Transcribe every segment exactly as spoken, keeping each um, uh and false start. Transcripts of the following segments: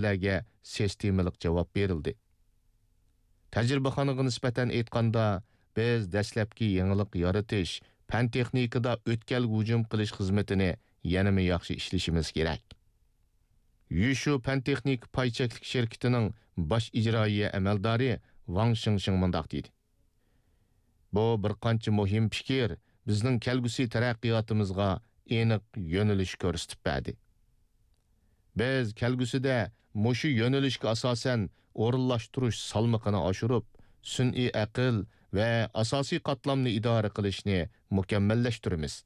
تەلەپلەرگە سىستېمىلىق جاۋاب بېرىلدى. تەجرىبىخانىغا نىسبەتەن ئېيتقاندا، بىز دەسلەپكى يېڭىلىق يارىتىش، پەن-تېخنىكىدا ئۆتكەلگە ھۇجۇم قىلىش خىزمىتىنى يەنىمۇ ياخشى ئىشلىشىمىز كېرەك. يۈشۈ پەن-تېخنىكا پاي چەكلىك شىركىتىنىڭ باش ئىجرائىيە ئەمەلدارى ۋاڭ شىڭشىڭ مۇنداق دېدى: «بۇ بىر قانچە مۇھىم پىكىر بىزنىڭ كەلگۈسى تەرەققىياتىمىزغا ئېنىق يۆنىلىش كۆرسىتىپ بەردى. بىز كەلگۈسىدە مۇشۇ يۆنىلىشكە ئاساسەن ئورۇنلاشتۇرۇش سالمىقىنى ئاشۇرۇپ، سۈنئىي ئەقىل ۋە ئاساسىي قاتلامنى ئىدارە قىلىشنى مۇكەممەللەشتۈرىمىز.»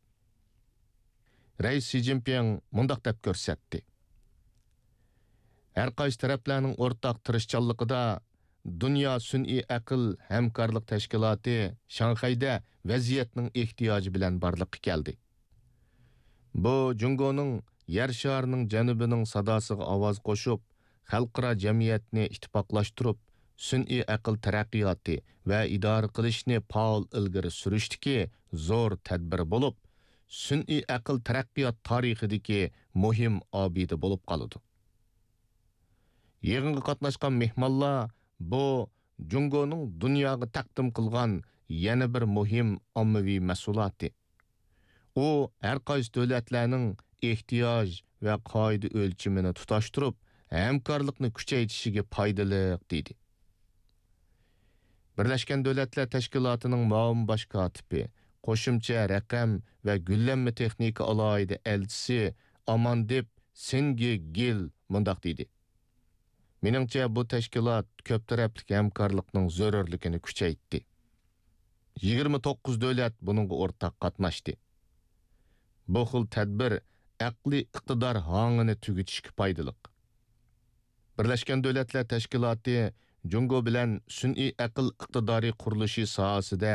رەئىس شى جىنپىڭ مۇنداق دەپ كۆرسەتتى: «ھەر قايسى تەرەپلەرنىڭ ئورتاق تىرىشچانلىقىدا دۇنيا سۈنئىي ئەقىل ھەمكارلىق تەشكىلاتى شاڭخەيدە ۋەزىيەتنىڭ ئېھتىياجى بىلەن بارلىققا كەلدى. بۇ جۇڭگونىڭ يەر شارىنىڭ جەنۇبىنىڭ ساداسىغا ئاۋاز قوشۇپ، خەلقئارا جەمئىيەتنى ئىتتىپاقلاشتۇرۇپ، سۈنئىي ئەقىل تەرەققىياتى ۋە ئىدارە قىلىشنى پائال ئىلگىرى سۈرۈشتىكى زور تەدبىرى بولۇپ، سۈنئىي ئەقىل تەرەققىيات تارىخىدىكى مۇھىم ئابىدە بولۇپ قالىدۇ.» يىغىنغا قاتناشقان مېھمانلار بۇ جۇڭگونىڭ دۇنياغا تەقدىم قىلغان يەنە بىر مۇھىم ئاممىۋى مەھسۇلاتى. ئۇ ھەر قايسى دۆلەتلەرنىڭ ئېھتىياج ۋە قائىدە ئۆلچىمىنى تۇتاشتۇرۇپ، ھەمكارلىقنى كۈچەيتىشىگە پايدىلىق، دېدى. بىرلەشكەن دۆلەتلەر تەشكىلاتىنىڭ مۇئاۋىن باش كاتىپى، قوشۇمچە رەقەم ۋە گۈللەنمە تېخنىكا ئالاھىدە ئەلچىسى ئاماندېپ سېنگېگىل مۇنداق دېدى: «مېنىڭچە، بۇ تەشكىلات كۆپ تەرەپلىك ھەمكارلىقنىڭ زۆرۈرلۈكىنى كۈچەيتتى. يىگىرمە توققۇز دۆلەت بۇنىڭغا ئورتاق قاتناشتى. بۇ خىل تەدبىر ئەقلىي ئىقتىدار ھاڭىنى تۈگىتىشكە پايدىلىق.» بىرلەشكەن دۆلەتلەر تەشكىلاتى جۇڭگو بىلەن سۈنئىي ئەقىل ئىقتىدارى قۇرۇلۇشى ساھەسىدە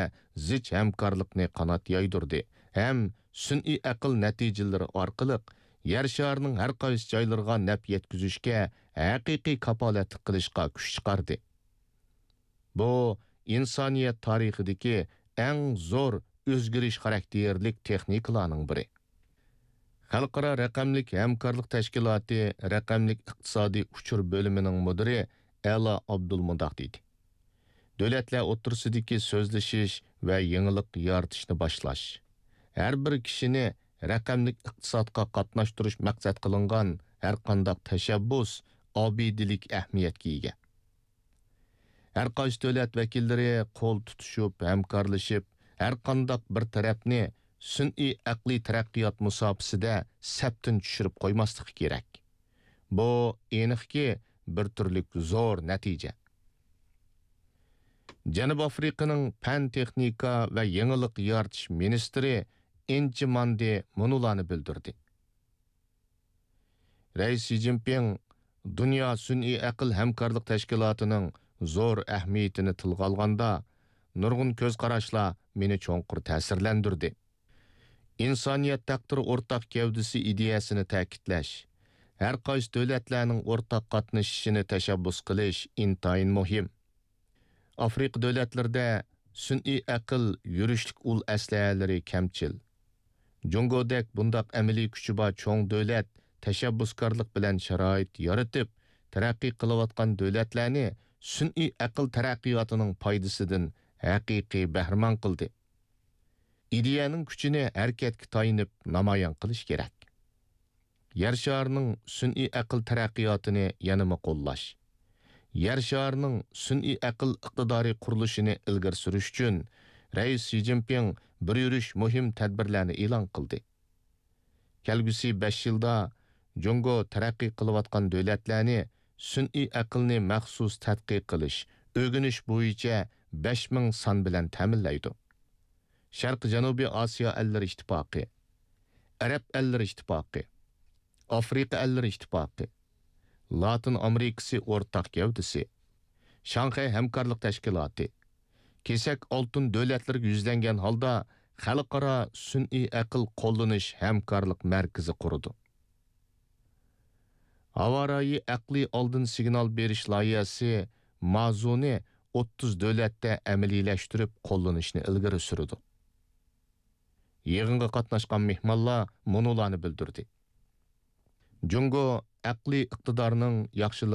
زىچ ھەمكارلىقنى قانات يايدۇردى ھەم سۈنئىي ئەقىل نەتىجىلىرى ئارقىلىق يەر شارىنىڭ ھەر قايسى جايلىرىغا نەپ يەتكۈزۈشكە ھەقىقىي كاپالەتلىك قىلىشقا كۈچ چىقاردى. بۇ ئىنسانىيەت تارىخىدىكى ئەڭ زور ئۆزگىرىش خاراكتېرلىك تېخنىكىلارنىڭ بىرى. خەلقئارا رەقەملىك ھەمكارلىق تەشكىلاتى رەقەملىك ئىقتىسادىي ئۇچۇر بۆلۈمىنىڭ مۇدىرى ئەلا ئابدۇل مۇنداق دېدى: «دۆلەتلەر ئوتتۇرىسىدىكى سۆزلىشىش ۋە يېڭىلىق يارىتىشنى باشلاش، ھەر بىر كىشىنى رەقەملىك ئىقتىسادقا قاتناشتۇرۇش مەقسەت قىلىنغان ھەرقانداق تەشەببۇس ئابىدىلىك ئەھمىيەتكە ئىگە. ھەر قايسى دۆلەت ۋەكىللىرى قول تۇتۇشۇپ، ھەمكارلىشىپ، ھەر قانداق بىر تەرەپنى سۈنئىي ئەقلىي تەرەققىيات مۇساپىسىدە سەپتىن چۈشۈرۈپ قويماسلىقى كېرەك. بۇ ئېنىقكى، بىر تۈرلۈك زور نەتىجە.» جەنۇبىي ئافرىقىنىڭ پەن-تېخنىكا ۋە يېڭىلىق يارىتىش مىنىستىرى ئىنچى ماندى مۇنۇلارنى بىلدۈردى: رەئىس شى جىنپىڭ دۇنيا سۈنئىي ئەقىل ھەمكارلىق تەشكىلاتىنىڭ زور ئەھمىيىتىنى تىلغا ئالغاندا، نۇرغۇن كۆز قاراشلار مېنى چوڭقۇر تەسىرلەندۈردى. ئىنسانىيەت تەقدىرى ئورتاق گەۋدىسى ئىدىيەسىنى تەكىتلەش، ھەر قايسى دۆلەتلەرنىڭ ئورتاق قاتنىشىشىنى تەشەببۇس قىلىش ئىنتايىن مۇھىم. ئافرىقا دۆلەتلىرىدە سۈنئىي ئەقىل يۈرۈشلۈك ئۇل ئەسلىھەلىرى كەمچىل. جۇڭگودەك بۇنداق ئەمەلىي كۈچى بار چوڭ دۆلەت تەشەببۇسكارلىق بىلەن شارائىت يارىتىپ، تەرەققىي قىلىۋاتقان دۆلەتلەرنى سۈنئىي ئەقىل تەرەققىياتىنىڭ پايدىسىدىن ھەقىقىي بەھرىمەن قىلدى. ئىدىيەنىڭ كۈچىنى ھەرىكەتكە تايىنىپ نامايان قىلىش كېرەك. يەر شارىنىڭ سۈنئىي ئەقىل تەرەققىياتىنى يەنىمۇ قوللاش، يەر شارىنىڭ سۈنئىي ئەقىل ئىقتىدارى قۇرۇلۇشىنى ئىلگىرى سۈرۈش ئۈچۈن رەئىس شى جىنپىڭ بىر يۈرۈش مۇھىم تەدبىرلەرنى ئېلان قىلدى. كەلگۈسى بەش يىلدا جۇڭگو تەرەققىي قىلىۋاتقان دۆلەتلەرنى سۈنئىي ئەقىلنى مەخسۇس تەتقىق قىلىش، ئۆگىنىش بويىچە بەش مىڭ سان بىلەن تەمىنلەيدۇ. شەرقىي جەنۇبىي ئاسىيا ئەللىرى ئىتتىپاقى، ئەرەب ئەللىرى ئىتتىپاقى، ئافرىقا ئەللىرى ئىتتىپاقى، لاتىن ئامېرىكىسى ئورتاق گەۋدىسى، شاڭخەي ھەمكارلىق تەشكىلاتى، كېسەك ئالتۇن دۆلەتلىرىگە يۈزلەنگەن ھالدا خەلقئارا سۈنئىي ئەقىل قوللىنىش ھەمكارلىق مەركىزى قۇرىدۇ. ھاۋارايى ئەقلىي ئالدىن سىگنال بېرىش لايىھەسى مازۇنى ئوتتۇز دۆلەتتە ئەمەلىيلەشتۈرۈپ قوللىنىشنى ئىلگىرى سۈرىدۇ. يىغىنغا قاتناشقان مېھمانلار مۇنۇلارنى بىلدۈردى: جۇڭگو ئەقلىي ئىقتىدارنىڭ ياخشىلىق